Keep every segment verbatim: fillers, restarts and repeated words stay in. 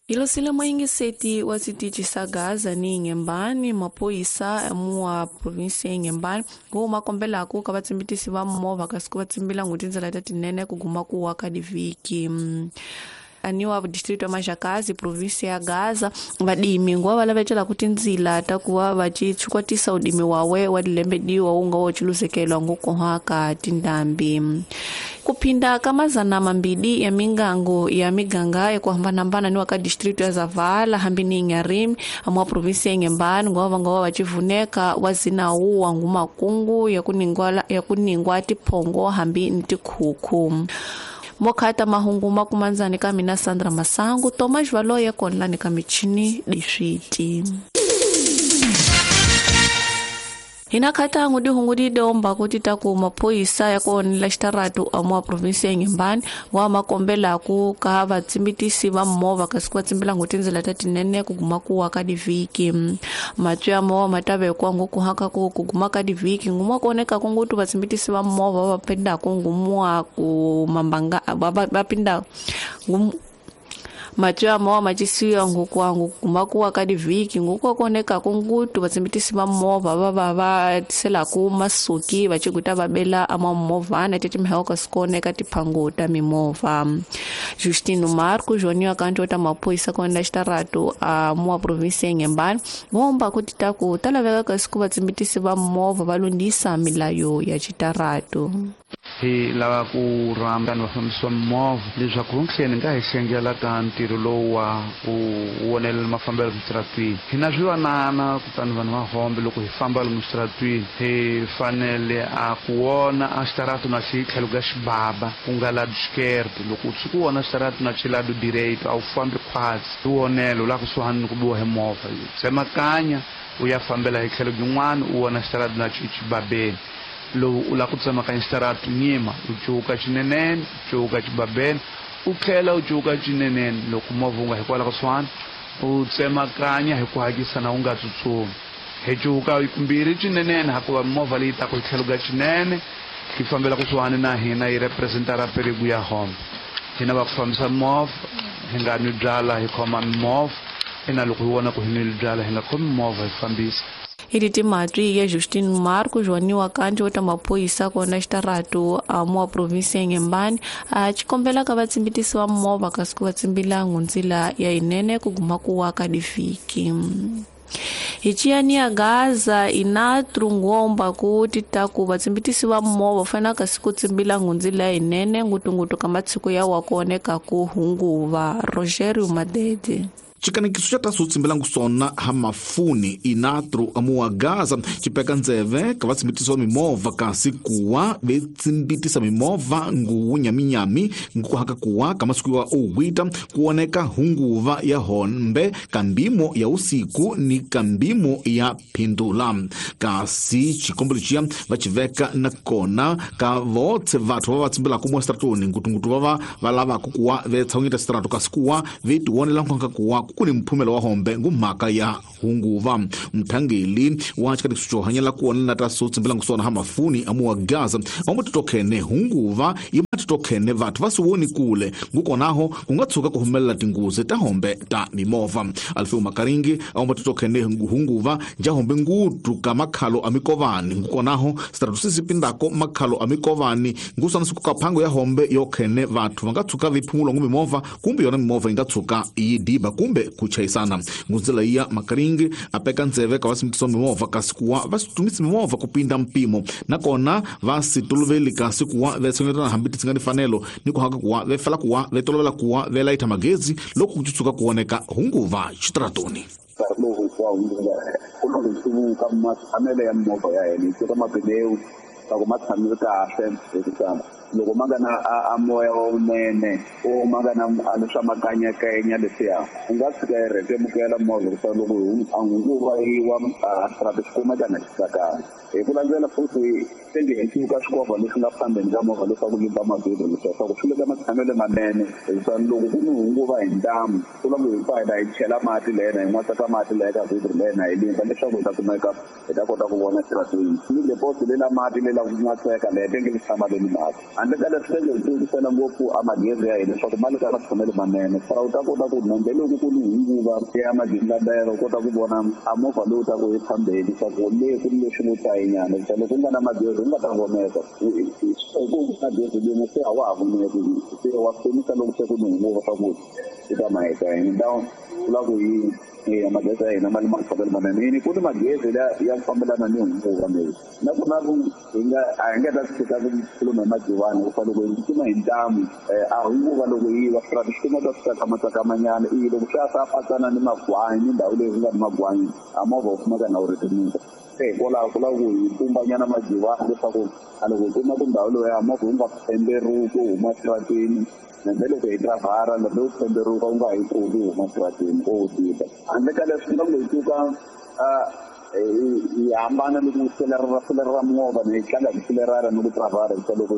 Ilosile moyingiseti wa switichi sa Gaza ni Inhambane, maphoyisa mua provinsia ya Inhambane ngo makombelaku ka vatsimbitisi va movha kasi ku va tsimbila ngo tindlela ta tinene ku guma ku wa ka divhiki. Aniwa distrito ya Majakazi provinsia ya Gaza vadimi ngo va lavetela ku tindzila ta ku va va chikwatisa udimi wawe wa dilembediwa wu nga wo chiluzekelwa ngo kohaka tindambi. Kuphinda ka mazana mambili ya mingango ya miganga ya ku hambanahambana ni wa ka distrito ya Zavala hambi ni Inharime amwa provinsia ya Inhambane ngo va nga va chivuneka wa zinawu wa ngumakungu ya kuningwa ya kuningwa tiphongo hambi ni tikhukhu. Mokhata mahungu makumanzani ka mina Sandra Masangu Thomas Valoye konlani ka michini diswiti. Hina khata ngudi hungudi domba kuti taku maphoyisa ya konela xitaratu amwa provinsia ya Inhambane wa makombela ku ka vatsimbitisi va movha kasi ku va tsimbila ngo tindlela ta tinene ku guma ku wa ka divhiki. Matwi ya movha ma ta vekiwa ngo ku haka ku ku guma ka divhiki nguma ku oneka ku ngutu vatsimbitisi va movha va pindaka ngumwa ku mambanga va pinda matwi ya movha macisiwa ngokwangu guma ku wa ka divhiki ngoku koneka ku ngutu vatsimbitisi va movha va va va tiselaku masuki va chikuta va bela ama movhana tetimhaka kasi kuoneka tiphango ta mimovha. Justino Marco Joniwa kanti ta maphoyisa kona xitaratu a mua provinsia ya Inhambane ngomba kuti taku ta laveka kasi ku vatsimbitisi va movha va lunghisa milayo ya xitaratu. Hi lava ku rhamba vanhu va fambisa movha leswaku ntlheni nga hi xengela ka ntirho lowu wa ku wonelela mafambelo switaratwini. Hi na swivanana kutani vanhu va hombe loko hi famba lomu switaratwini hi fanele a ku wona a xitaratu na xi tlhelo ka xibaba ku nga lado esquerdo. Loko u tshuka u wona xitaratu na xi lado direito a wu fambi khwatsi i wonelo la kusuhani ni ku biwa hi movha tsemakanya u ya fambela hi tlhelo byin'wana u wona xitaratu na xi xibabeni. Lowu u lava ku tsemakanya xitaratu nyima u cuka xinenene u cuka xibabeni u tlhela u cuka xinenene loko movha wu nga hikwalaho kusuhani u tsemakanya hi ku hakisa na u nga tsutsumi. Hi cuka kumbirhi xinenene hakuva movha leyi taka hi tlhelo ka xinene yi fambela kusuhani na hina yi representa ra perigo ya hombe. Hina va ku fambisa movha hi nga nwi byala hi khoma mimovha ina loko hi vona ku hi nwile byala hi nga khomi movha hi fambisa. Iliti matwi ya Justino Marco Joniwa kanti wa maphoyisa kona xitaratu amwa provinsia ya Inhambane a chikombela ka vatsimbitisi va movha kasi ku va tsimbila ndzila ya inene ku guma ku wa ka divhiki. Hi ciyani ya Gaza inatru ngomba ku titaku vatsimbitisi va movha fanele kasi ku tsimbila ndzila ya inene ngutungutu ka matshiko ya wa kuoneka ku hunguva. Rogerio Madede. Xikanekiso xa taso tsimbelangu sona ha mafuni inatru amuwa Gaza xipeka ndzeve ka vatsimbitisi va mimovha kasi kuwa vetsimbitisa mimovha nguwu nyaminyami ngukuhaka kuwa ka masiku ya owita kuoneka hunguva ya hombe kambimo ya usiku ni kambimo ya phindula. Kasi xikombelo xiya va xiveka na kona ka votse vathu va va tsimbelaka mo stratoni ngutungutu va va va lavaka kuwa vetshawungita strato kasi kuwa vetiwonela nkonka kuwa ku ni mphumelo wa hombe ngumhaka ya hunguva. Mthangeli wa xikanekiso xo hanyela ku wona na ta so tsimbelangu sona ha mafuni amuwa Gaza amutitokhene hunguva yi matitokhene vathu va siwoni kule ngukonaho ku nga tshuka ku humelela tinghozi ta hombe ta mimovha. Alfeo Makaringi amutitokhene hunguva nja hombe ngutu ka makhalo a mikovani ngukonaho sitaratu sisi pindako makhalo a mikovani ngusana siku ka phango ya hombe yo khene vathu va nga tshuka viphumulo ngu mimovha kumbe yona mimovha yi nga tshuka yi diba kumbe ku chayisana. Ngunzela ya Makaringi apeka ndzeve ka vasimbitisa mimovha kasi kuwa va situmisa mimovha ku pinda mpimo nakona va si toloveli kasi kuwa va tshungetana hambi ti nga ni fanelo ni ku haka kuwa va fela kuwa va tolovela kuwa va layita magezi loko ku tshuka ku oneka hunguva xitaratoni. Ku hluvuka matshamelo ya mimovha ya hina hi tiva mapineu loko ma tshamile kahle hikuva loko ma nga na a moya lowunene o ma nga na leswa makanyakanya leswiya u nga tshika yi rhetemukela movha hikuva loko a hunguva yi wa a xirhato xi kumeka na xi tsakanga. Hi ku landzela futhi tenge hi cuka swikovha leswi nga phambeni ka movha leswaku limba mavhilwa leswaku swi le ka matshamelo manene hikuva loko ku ni hunguva hi ntamu ku lava hi pfa hi hi chela mati lena hi n'watsaka mati leya ka vhilwa lena hi limba leswaku hi ta kumeka hi ta kota ku vona xirhatwini ni lepoto lela mati lela ku n'watseka leya tenge li tshama leni mati. Handle ka leswi hi tivisela ngopfu a magezi ya hina leswaku ma le ka matshamelo manene fara u ta kota ku nambe loko ku ni hunguva ya magingandela u kota ku vona a movha lowu taku hi phambeni leswaku le ku ni leswi ngo tayinyana hikuva loko ku nga na magezi u nga ta voneka ku na gezi rin'we se a wa ha voneki se wa pfunisa loko se ku ni hunguva swa ku i ta maheta hina down vula ku hi ya magezi ya hina ma le matshamelo manene yini ku ni magezi ya ku fambelana ni hunguva leyi nakona ku hi nga a hi nga ta tshika ku khuluma hi majivani ku fa loko hi tsutsuma hi ntamu a hunguva loko yi wa swi swi kuma ta swi tsakamatsakamanyana i loko swi ya swa patsana ni magwanyi ni ndhawu leyi ku nga ni magwanyi a movha wu kumeka na wu rhetemuka se hikwalaho ku lava ku hi pumbanyana majivani leswaku a loko hi kuma ku ndhawu leyi ya movha wu nga pemberuki wu huma xitarateni nambe loko hi drivhara lambe wu pemberuka wu nga hi kuli wu huma xitarateni ko wu tika handle ka leswi loko hi suka hi hambana ni ku selerera selerera movha ni hi tlanga hi selerera ni ku drivhara hikuva loko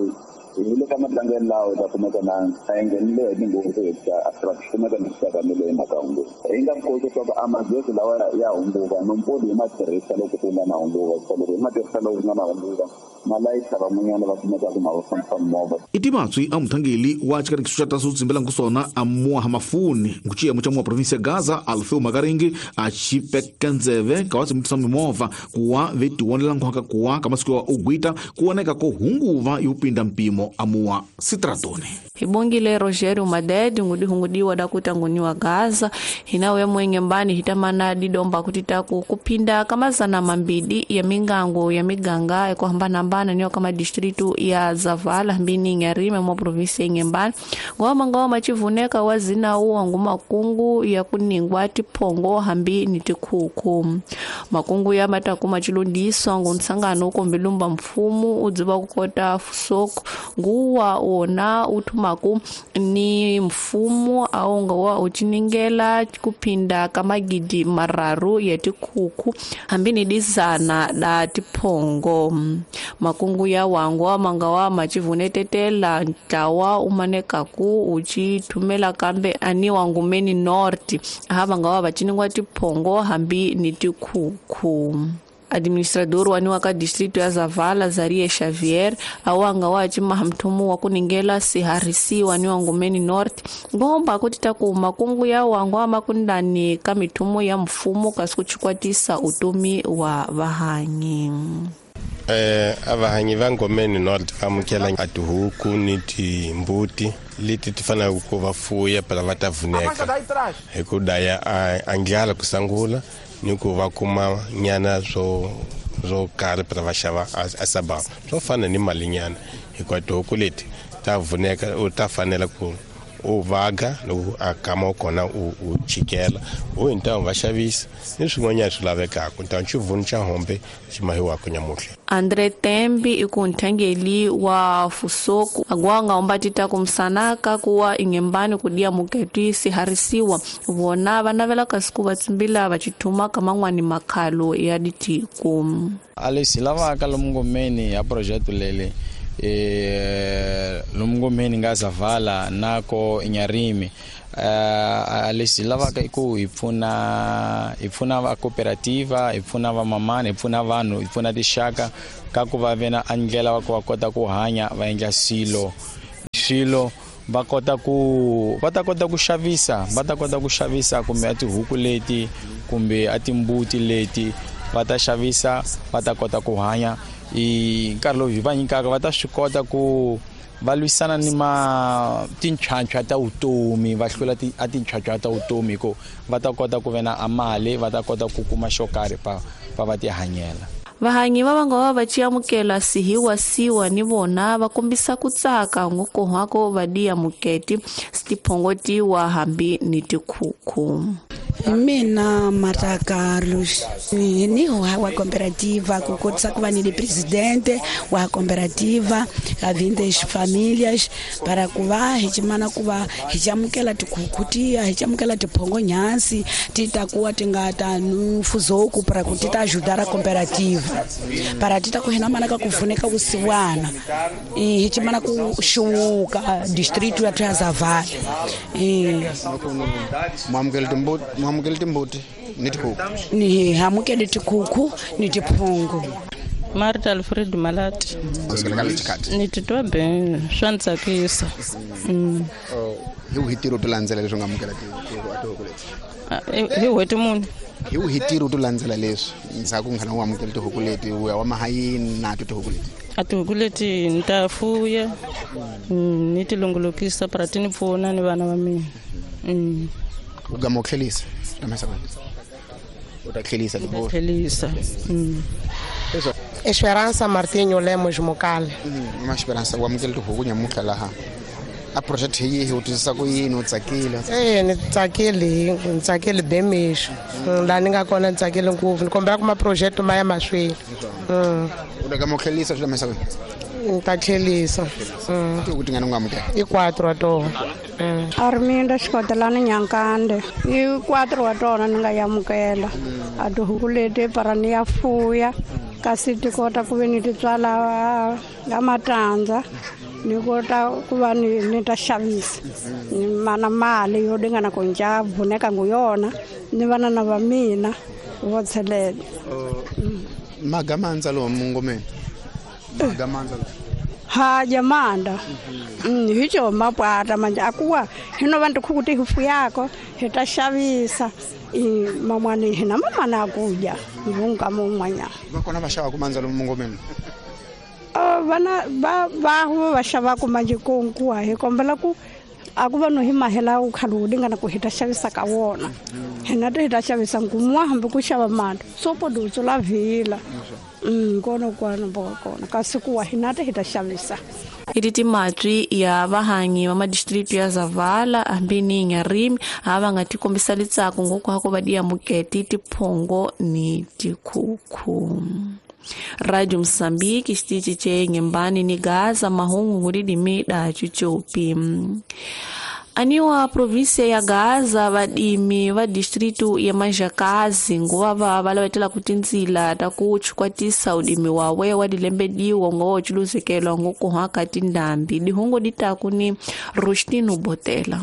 hi le ka matlangelo lawa hi ta kumeka na a hi nghenile hi tinghozi hikuva a swi kumeka ni swi hi mhaka hunguva hi nga koti leswaku a magezi lawa ya hunguva nompoli hi ma tirhisa loko ku nga na hunguva hikuva loko hi ma tirhisa loko ku nga na hunguva ma layisa van'wanyana va kumeka ku ma va fambisa movha i timatswi a muthangeli wa xikanekiso xa taso tsimbela nkusona a muaha mafuni nguciyemo xa muwa provinsi ya Gaza Alfeu Makaringi a xipeka ndzeve ka wa tsimbisa mimovha kuwa ve tiwonela nkhwaka kuwa ka masiku ya ugwita kuoneka ko hunguva yo pinda mpimo amuwa sitratoni hibongile Rogerio Madede ngudi hungudiwa dakuta nguniwa Gaza hinawe mwenge mbani hitamana didomba kutitaku kupinda kamazana mambidi ya mingango ya miganga ekuhambana hambana niyo kama distritu ya Zavala mbini Nyarime mwa provinsi ya Ngembani ngoma ngoma chivuneka wazina uwa nguma kungu ya kuningwa tiphongo hambi ni tikhuku makungu ya matakuma chilondiswa ngunsangano ukombilumba mfumu udziva kukota fusoko nguwa wona uthumaku ni mfumo aonga wa uchiningela kupinda kamagidi mararu ya tikhuku hambi ni dizana da tiphongo makungu ya wangwa mangawa machivunetetela ntlawa umanekaku uchithumela kambe ani wangumeni north hava ngawa vachiningwa tiphongo hambi ni tikhuku administrador waniwa ka distrito ya Zavala Zaria Xavier awanga wa chimaha mthumu wa kuningela siharisi waniwa ngumeni north ngomba kutita ku makungu ya wangwa makundani ka mithumu ya mfumo kasi kuchikwatisa utomi wa vahanyi eh avahanyi va Ngomeni North va amukela a tihuku ni timbuti leti ti faneleke ku va fuya phela va ta vuneka hi ku daya a ndlala ku sungula ni ku va kuma nyana swo swo karhi phela va xava a sabava swo fana ni mali nyana hikuva tihuku leti ta vuneka u ta fanela ku u vaga loko a kama kona u u chikela u hi ntamu va xavisa ni swin'wanyana swi lavekaka ntamu xivunu xa hombe xi mahiwaka nyamuhla Andre Tembi ikunthangeli wa fusoku agwanga ombatita kumsanaka kuwa ingembani kudia muketi siharisiwa vona vanavela kasiku vatsimbila vachithuma kamangwani makhalo ya ditiku alesi lavaka lomungomeni ya projeto lele eh lomungomeni nga Zavala nako Inyarimi eh alesi lavaka iku ipfuna ipfuna va cooperativa ipfuna va mamana ipfuna vanhu ipfuna tixaka ka ku va vena andlela va ku va kota ku hanya va endla swilo swilo va kota ku va ta kota ku xavisa va ta kota ku xavisa kumbe a tihuku leti kumbe a timbuti leti va ta xavisa va ta kota ku hanya i nkarhi lowu hi va nyikaka va ta swi kota ku va lwisana ni ma tinchwanchwa ta vutomi va hlula a tinchwanchwa ta vutomi hi ku va ta kota ku ve na a mali va ta kota ku kuma xo karhi pa pa va tihanyela vahanyi va vanga va va chiamukela sihiwa siwa ni vona va kombisa ku tsaka ngokohwako va diya muketi sitiphongotiwa hambi ni tikhukhu mina Marta Carlos ni wa cooperativa ku kotisa ku va ni presidente wa cooperativa a vindes famílias para ku va hi chimana ku va hi chamukela tikhukhu tiya hi chamukela tiphongo nyansi ti ta kuwa ti nga ta nufuzoku para ku ti ta ajudar a cooperativa para ti ta ku hina mana ka ku pfuneka vusiwana hi chimana ku xuwuka distrito ya Zavala eh mamukela timbuti mamukela timbuti ni tikhukhu ni hamukele tikhukhu ni tiphongo Marta Alfred Malati. Ni titwa ben swa ni tsakisa. Hi wihi ntirho to landzela leswi nga amukela tihuku leti? Hi n'hweti muni? Hi wihi ntirho to landzela leswi ndzhaku nghana u amukela tihuku leti u ya wa mahayini na to tihuku leti? A tihuku leti ni ta fuya ni ti longolokisa para ti ni pfuna ni vana va mina. U gama u tlhelisa u ta tlhelisa tlhelisa. Esperança Martinho Lemos Mokale. Ma Esperança u amukela tihuku nyamutlha laha a project hi yihi u twisisa ku yini u tsakile? E ni tsakile ni tsakile bemixo laha ni nga kona ni tsakile ngopfu ni kombela ku ma-project ma ya mahlweni. U ta gama u tlhelisa swi lamisa kwini? Ni ta tlhelisa. Tihuku tingani u nga amukela? I quatro wa tona. Arminda Xikotelani Nyankande. I quatro wa tona ni nga yamukela. A tihuku leti para ni ya fuya kasi ti kota ku ve ni ti tswala a matandza ni kota ku va ni ni ta xavisa ni mana mali yo dingana ku nca vuneka ngu yona ni vana na va mina vo tshelela. Magamandza lomu ngomeni magamandza ha jamanda hi co mapwata manje akuwa hino vantu khuku ti hufuyako hi ta xavisa mamwani hina mamana akuja ngungama un'wanyana va kona va xavaku mandza lomu ngomeni? Vana va va va xavaku manje konkuwa hi kombela ku a ku va no hi mahela u khale wu dingana ku hi ta xavisa ka wona hina ti hi ta xavisa nkumwa hambi ku xava mali so podutso la vhila kona kwana boka kona kasi kuwa hina ti hi ta xavisa. Iti timatwi ya vahanyi va madistritu ya Zavala hambi ni Nyarimi ha va nga ti kombisa litsako ngoko hako va diamuketi tiphongo ni tikhukhu. Radio Mozambique xitichi che Nyembani ni Gaza mahungu ngulidimi da chuchopi. Aniwa província ya Gaza vadimi va distrito ya Manjakazi nguva va va lavetela ku tindzila ta ku chukwatisa udimi wawe wa dilembediwa ngo chuluzekelwa ngo haka tindambi dihungo ditaku ni Rustino Botela.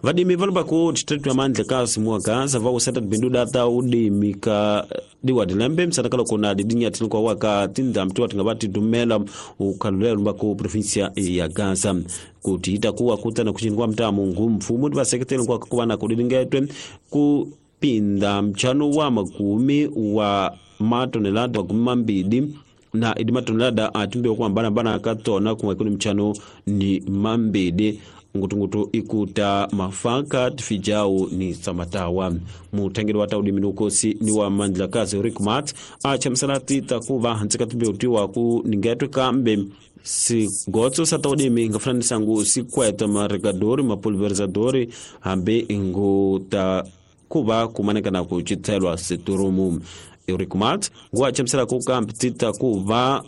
Vadimi valomba ku distrito ya Mandlakazi mua Gaza va useta bindu data udimi ka diwa dilembe msanakalo kona didinya tinko waka tindambi tuwa tingabati dumela ukalulea lumba ku provincia ya Gaza kutiita kuwa kutana kuchini mtaa mungu mfumu diwa sekretari kwa kuwa na kudingetwe kupinda mchano wa makumi wa matonelada wa kumambidi na idi matonelada atumbe kwa mbana mbana katona kumwekuni mchano ni mambidi ngutungutu ikuta mafaka tfijao ni samatawa. Mutengeri wa taudi minukosi ni wa Mandlakazi Rick Mat acha msalati takuva hantsika tumbe ku ningetwe kambe si gotso sa taudi mi ngafrani sangu si kweta maregadori mapulverizadori hambe inguta kuba kumaneka na kuchitelwa siturumu. Rick Mat ngwa chamsala kukambi titakuva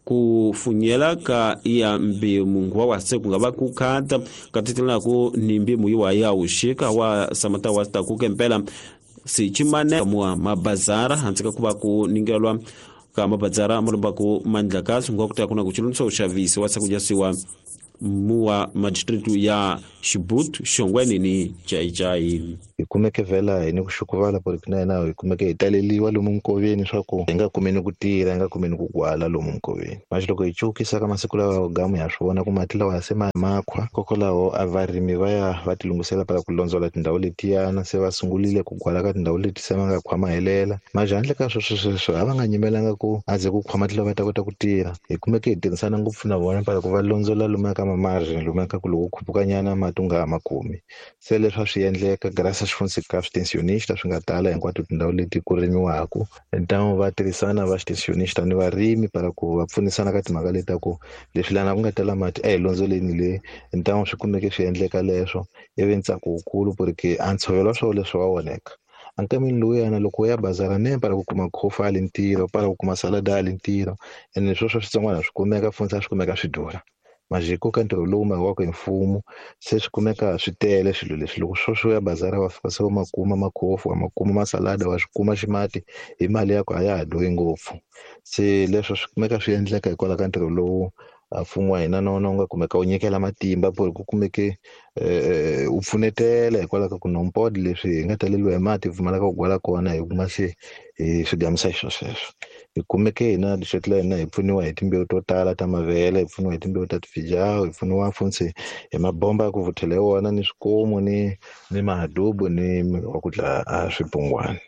kufunyela ka ya mbimu ngwa wase kungaba kukata katitila ku ni mbimu iwa ya ushika wa samata wasta kukempela si chimane mwa mabazara hantsika kuba ku ningelwa ka mabazara mulomba ku Mandlakazi ngwa kuta kuna kuchilunso ushavisi wasa kujasiwa muwa magistratu ya Shibutu Shongweni ni Chai Chai. Ikumeke vela ni kushukuvala porque na na ikumeke italeliwa lomu nkoveni swa inga kumeni kutira inga kumeni kugwala lomu nkoveni manje loko ichukisa ka masiku lawa gamu ya swona ku mati lawa se makhwa kokolawo avarimi va ya va tilungisela para ku londzela tindhawu letiyana se va sungulile ku gwala ka tindhawu leti se va nga khwa mahelela manje handle ka sweswo sweswo a va nga nyimelanga ku aze ku khwa mati lawa va ta kota ku tirha hi kumeke hi tirhisana ngopfu na vona para ku va londzela lomu ka mamargem lomu ka ku loko khupukanyana mati u nga ha ma kumi se leswi a swi endleka graças ka extensionista swi nga tala hinkwato tindhawu leti ku rimiwaka então va tirhisana va extensionista ni varimi para ku va pfunisana ka timhaka leti ta ku leswi lana ku nga tala mati a hi londzoleni le então swi kumeke swi endleka leswo ivi ntsako wukulu porque a ntshovelo wa swona leswi wa onheka ankamini lowuyana loko u ya bazara ne para ku kuma khofa ali ntirho para ku kuma salada ali ntirho ene sweswo switsongwana swi kumeka funza swi kumeka swi durha majiko ka ntirho lowu makiwaka hi mfumo se swi kumeka swi tele swilo leswi loko sweswo ya bazara wa fika se u ma kuma makhofu wa ma kuma masalada wa swi kuma ximati hi mali ya ku a ya ha durhi ngopfu se leswo swi kumeka swi endleka hikwalaho ka ntirho lowu mfumo wa hina na wona wu nga kumeka wu nyikela matimba por ku kumeke u pfunetela hikwalaho ka ku nompod leswi hi nga taleliwa hi mati hi pfumalaka ku gwala kona hi kuma se hi swi gamisa hi swo sweswo Hi kumeke hina district la hina hi pfuniwa hi timbewu to tala ta mavele, hi pfuniwa hi timbewu ta tifijawu, hi pfuniwa funtsi hi mabomba ya ku vuthela hi wona ni swikomu ni ni mahadubu ni wa ku dlaya a swibungwana.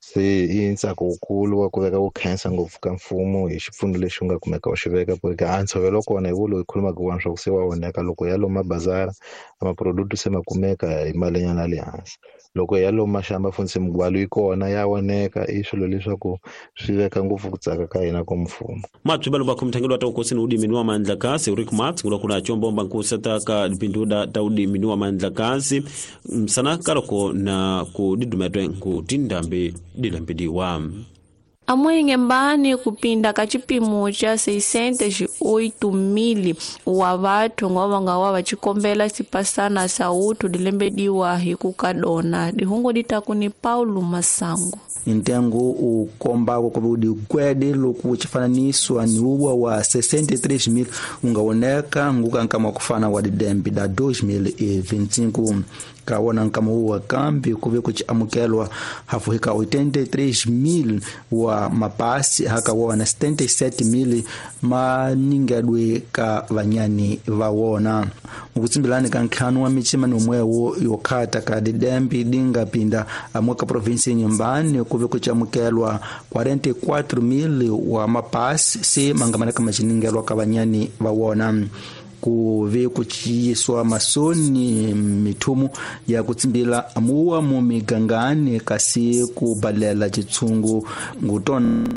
Se i ntsako wukulu wa ku veka ku khensa ngopfu ka mfumo hi xipfuno lexi u nga kumeka u xi veka ku ri a ntshovelo kona hi wo loyi khulumaka wona swa ku se wa onheka loko ya lomu mabazara a maproduct se ma kumeka hi malinyana ya le hansi. Loko ya lomu maxamba funtsi migwalo yi kona ya oneka, i swilo leswaku swi veka ngopfu ku tsaka ka hina ka mfumo. Matswibalo va khomthangelo wa ta ukosini udimi wa mandlakazi Rick Mats ngula kuna chombomba nkusata ka dipinduda ta udimi wa mandlakazi msana kaloko na kudidumetwe nkutindambi dilambediwa. Amuinhembane kupinda ka chipimo cha seiscentos e oito mil wa vathu ngova nga wa vachikombela sipasana sa uthu dilembediwa hi kukadona dihungo ditaku ni Paulo Masango. Ntengo u kombako ku udikwede loku chifananiso ni uwa wa sessenta e três mil ungaoneka nguka nkama kufana wa didembe da dois mil e vinte e cinco. Kawona nkama uwa kambi kuve kuchiamukelwa hafuhika oitenta e três mil wa mapasi hakawona setenta e sete mil maningedwe ka vanyani vawona. Mukutsimbilani ka ntlhanu wa michima nomwewo yokhata ka didembe dinga pinda amoka provinsi nyumbani kuve kuchiamukelwa quarenta e quatro mil wa mapasi se mangamana ka machiningelwa ka vanyani vawona. Kuve kuchiyiswa masoni mithumu ya kutsimbila amuwa mu migangani kasi kubalela chitsungu ngutona